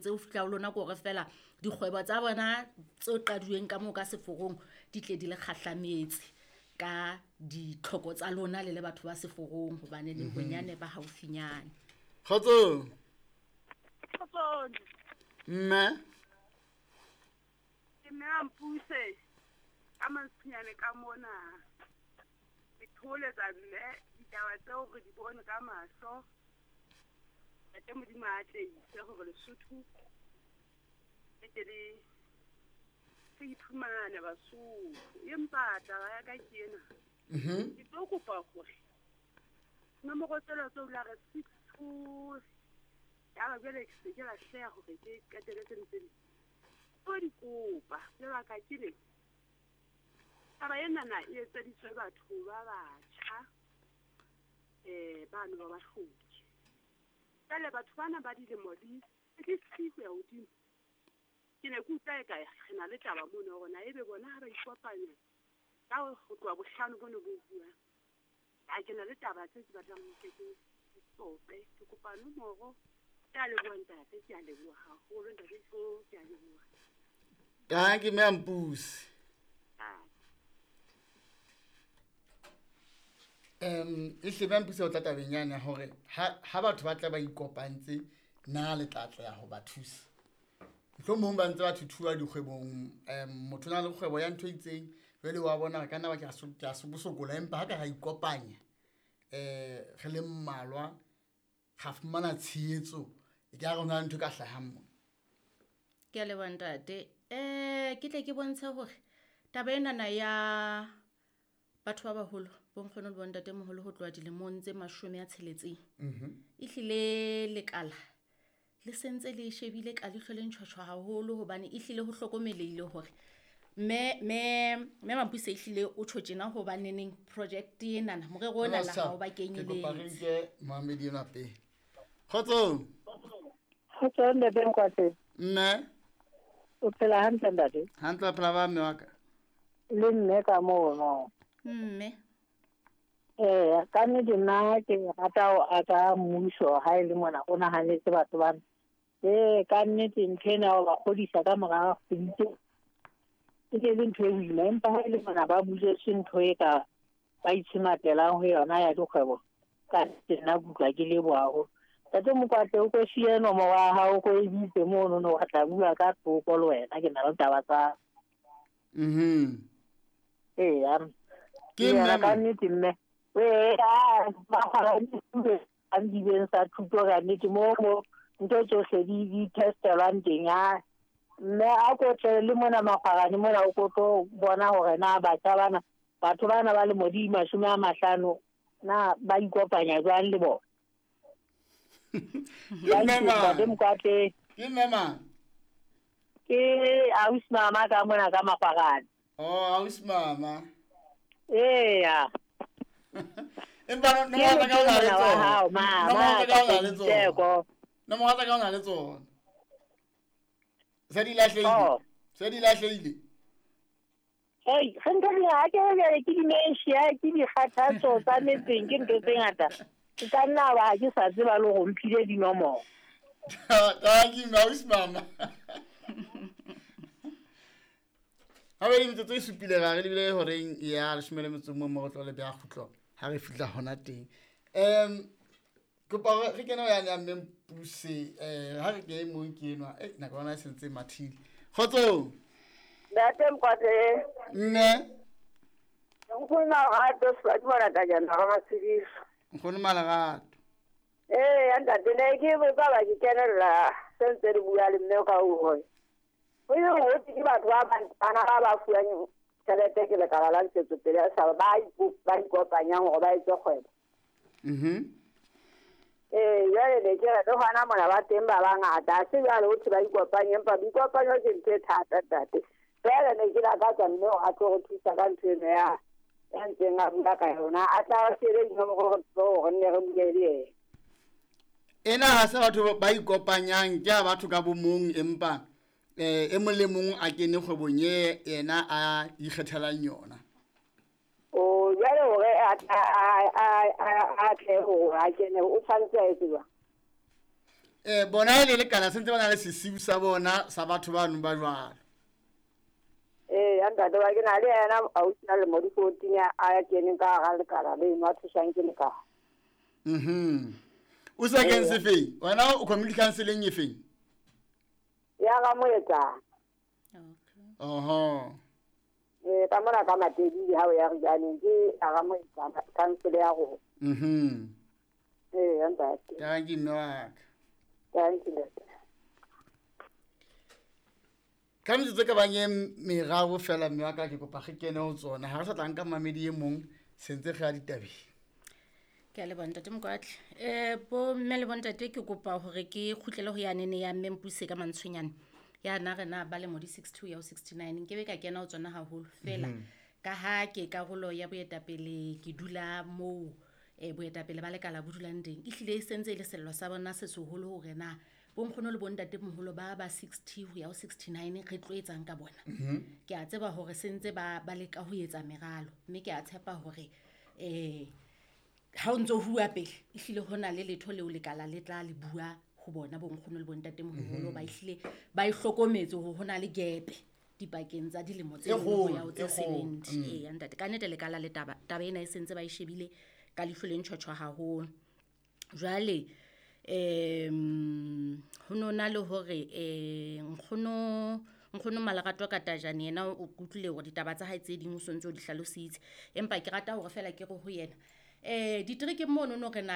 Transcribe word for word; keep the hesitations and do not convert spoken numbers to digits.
Tse o fihla ho lona ke hore fela dikgwebo tsa bona tse qaduweng ka moo ka seforong di tle di le kgahlametse ka ditlhoko tsa lona le le batho ba seforong hobane le bonyane ba haufinyane. Kgotso. Kgotso. Mme. Ke mme a mpuse ka mantshinyane ka mona. Ke tholetsa mme ditaba tseo re di bone ka mahlo. Ntate Modimo a atleise hore Lesotho le tle le re iphumane Basotho. Empa taba ya ka ke ena. Mhm. Ke tlo kopa hore nomoro tsela tseo la re six two ya ba jwale ke se ke lahleha hore ke qetelletse ntse di. Tlo di kopa lebaka ke le taba enana e etseditswe batho ba batjha eh bano ba bahloki. Jwale batho bana ba dilemo di thirty ho ya hodimo. Ke ne ke utlwa eka re na le taba mono hore na ebe bona ha ba ikopanya ka ho tloha bohlano bono bo buang. Ha ke na le taba tse ke batlang ho ke ke sope. Ke kopa nomoro. Ke a leboha ntate, ke a leboha haholo ntate, ke a leboha. Dankie mme Mpuse. Um e hle mme Mpuse o tla tabeng yane ya hore ha ha batho ba tla ba ikopantse na le tla tla ho ba thusa. Mohlomong ba ntse ba thuthuwa dikgwebong, um motho o na le kgwebo ya ntho e itseng jwale wa bona re ka nna ba ke a ke a sokola empa ha ka ra ikopanya eh re le mmalwa ra fumana tshehetso e ka re hona le ntho e ka hlahang mona. Ke a leboha ntate. Eh ke tle ke bontshe hore taba enana ya batho ba baholo bo nkgono le bo ntatemoholo ho tloha dilemong tse mashome a tsheletseng. Mhm. Ehlile lekala le sentse le shebile ka leihlo le ntjhotjho haholo hobane ehlile ho hlokomelehile hore mme mme mme Mampuse ehlile o tjho tjena hobaneneng project enana morero ona la ha o ba Ke kopa re kenyeletse. nke moamedi enwa pele. Kgotso. Kgotso ntate Nkwate. Mme. O phela hantle ntate? Hantle wa phela ba mme wa ka. Le mme ka mono. Mme. Eh, ka nnete nna ke rata ho aka mmuso ha e le mona o nahanetse batho bana. Eh, ka nnete ntho ena o ba kgodisa ka mora kgwedi tse e ke le ntho e boima, empa ha e le mona ba buletswe ntho e ka ba itshematelang ho yona ya dikgwebo. Ka nnete nna ke utlwa ke leboha haholo. Ntate Mokwatla, o ko siye nomoro ya hao, o ko e bitse mono no wa tla bua ka thoko le wena, ke na le taba tsa. Mhm. Eya. Ke Eya, mme ka nnete mme. Ee, ah, ba kgona ho dibeng sa thuto ka nnete mo mo ntho tsohle di di testelwang teng a mme a ko tle le mona makgwarane mona o ko tlo bona hore na batjha bana batho bana ba lemo di mashome a mahlano na ba ikopanya jwang le bona. Ke mme mang? Ntate Mokwatla. Ke mme mang? Ke ausi mama ka mona ka makgwarane. Oh, ausi mama. Eya. Empa no nomoro tsa ka o na le Ke tsona. motho wa hao, mama, Nomoro tsa ka o na le tsona. Tseko. Nomoro tsa ka o na le tsona. Se di lahlehile. Oh. Se di lahlehile. Hey, re ntho di ha ke re ke dementia, ke dikgathatso tsa metseng, ke ntho tse ngata. Ke ka nna ba ha ke sa tseba le hore mphile dinomoro. Thank you, ausi mama. Ha be metsotso e supile ra re lebile horeng ya leshome le metso o mong mo re tlo le beha kgutlo ha re fihla hona teng. Um kopa hore re kene ho yane ya mme Mpuse, eh ha re ke e mong ke enwa, eh nako yona e sentse e mathile. Kgotso. Ntate Mokwatla. Mme. Nkgono Malerato, Sefadi mona kajeno, ha Matshidiso. Nkgono Malerato. Ee, ntate, ne ke botsa ba ke kenella se ntse re bua le mme ka hore ho ye ho thwe ke batho ba bang bana ba ba fuwang tjhelete ke lekala la ntshetsopele ya setjhaba, ba ipo-, ba ikopanyang hore ba etse kgwebo. Mhm. Ee, jwale ne ke re le hona mona ba teng ba bangata, ha se jwale ho thwe ba ikopanye, empa boikopanyo ke ntho e thata ntate. Jwale ne ke lakatsa mme hore a tlo re thusa ka ntho eno ya, ya ntseng a bua ka yona, a tla re siele dinomoro hore re tsebe hore re nne re bue le yena. Ena ha se batho ba ikopanyang, ke a batho ka bo mong, empa eh e mong le mong a kene kgwebong e yena a ikgethelang yona. O jwale hore a a a a a tle hore a kene, o tshwanetse a etse jwang? Eh bona e le lekala sentse ba na le sesiu sa bona sa batho bano ba jwalo. Ee ya ntate wa ke na le yena ausi a lemo di fourteen a keneng ka hara lekala leno a thusang ke lekala. Mhm. O sa keng se feng? Wena o community council-eng e feng? Ya ga Moetsana. Okay. Oho. Ee ka mona ka Matedi ha o ya Rijaneng ke ya ga Moetsana council ya rona. Mhm. Ee ya ntate. Thank you mme wa ka. Thank you ntate. Ka metsotso e ka bang e meraro fela mme wa ka ke kopa re kene ho tsona. Ha re sa tla nka mamedi e mong sentse re ya ditabeng. Ke a leboha ntate Mokwatle. Eh bo mme le bontate ke kopa hore ke kgutlele ho yanene ya mme Mpuse ka mantshonyane. Ya na re na ba lemo di sixty-two ya ho sixty-nine nkebe ka kena ho tsona haholo fela. Ka ha ke karolo ya boetapele ke dula moo eh boetapele ba lekala bo dulang teng. Ehlile e sentse e le sello sa bona se seholo hore na bonkgono le bontate moholo ba ba sixty ho ya ho sixty-nine re tlo etsang ka bona. Ke a tseba hore sentse ba ba leka ho etsa meralo mme ke a tshepa hore eh ha o ntso bua pele ehlile hona le letho leo lekala le tla le bua ho bona bonkgono le bontate moholo ba ehlile ba e hlokometse hore hona le gap dipakeng tsa dilemo tse E nngwe ho ya ho kgolo, tse e kgolo. seventy. Ee ya ntate ka nnete lekala le taba taba ena e sentse ba e shebile ka leihlo le ntjhotjho haholo. Jwale em ho no na le hore eh nkgono nkgono Malerato ka Tajane yena o kutlwile hore ditaba tsa hae tse ding o sontso o di hlalositse empa ke rata hore fela ke re ho yena eh diterekeng mono no re na